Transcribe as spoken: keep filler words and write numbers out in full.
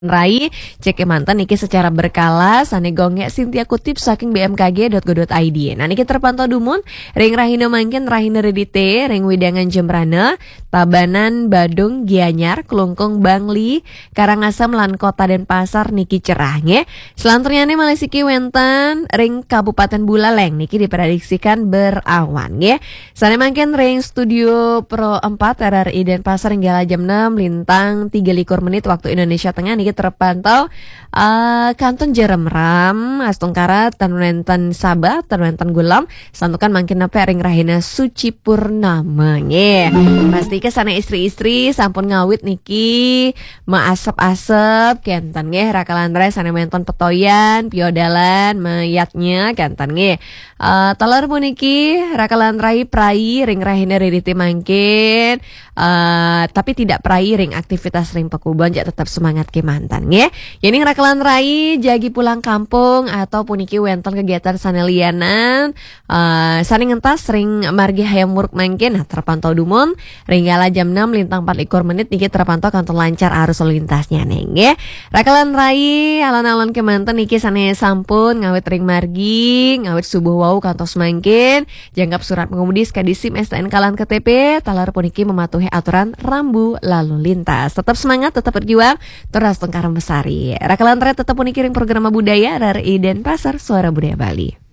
Rai, cek manten niki secara berkala, sane gongek Sintia kutip saking B M K G dot go dot I D. Nah, niki terpantau dumun, ring rahina mangkin rahina Redite, ring widangan Jembrana, Tabanan, Badung, Gianyar, Klungkung, Bangli, Karangasem lan Kota Denpasar niki cerah nggih. Selanturnyane malih siki wenten ring Kabupaten Buleleng niki diprediksikan berawan nggih. Sane mangkin ring Studio Pro empat R R I Denpasar ring kala jam enam lintang tiga likur menit waktu Indonesia Tengah niki terpantau eh, kantun jeremram, astungkara tan wenten sabah, tan wenten gulem, santukan mangkin nepe ring rahina suci purnama nggih. Pasti ke sane istri-istri sampun ngawit niki maasep-asep kenten nggih, rakalan rai sane wenten petoyan, piodalan, mayatnya kenten nggih. Eh, taler puniki rakalan rai prai ring rahina Redite mangkin, eh, tapi tidak prai ring aktivitas ring pakubon, jak tetap semangat kemanten nggih. Yening rakalan rai jagi pulang kampung atau puniki wenten kegiatan sane lianan, eh, sane ngentas ring margi Hayam Wuruk mangkin, nah, terpantau dumun ring kala jam enam lintang empat likur menit niki terpantau kantun lancar arus lalu lintasnya nggih. Rakalan rai alon-alon kemanten niki sane sampun ngawit ring margi, ngawit subuh wau kantos mangkin, janggap surat pengemudi, S K D, SIM, S T N K lan K T P, taler puniki mematuhi aturan rambu lalu lintas. Tetap semangat, tetap berjuang, tur astungkara mesari. Rakalan rai tetap puniki ring program budaya R R I Denpasar, Suara Budaya Bali.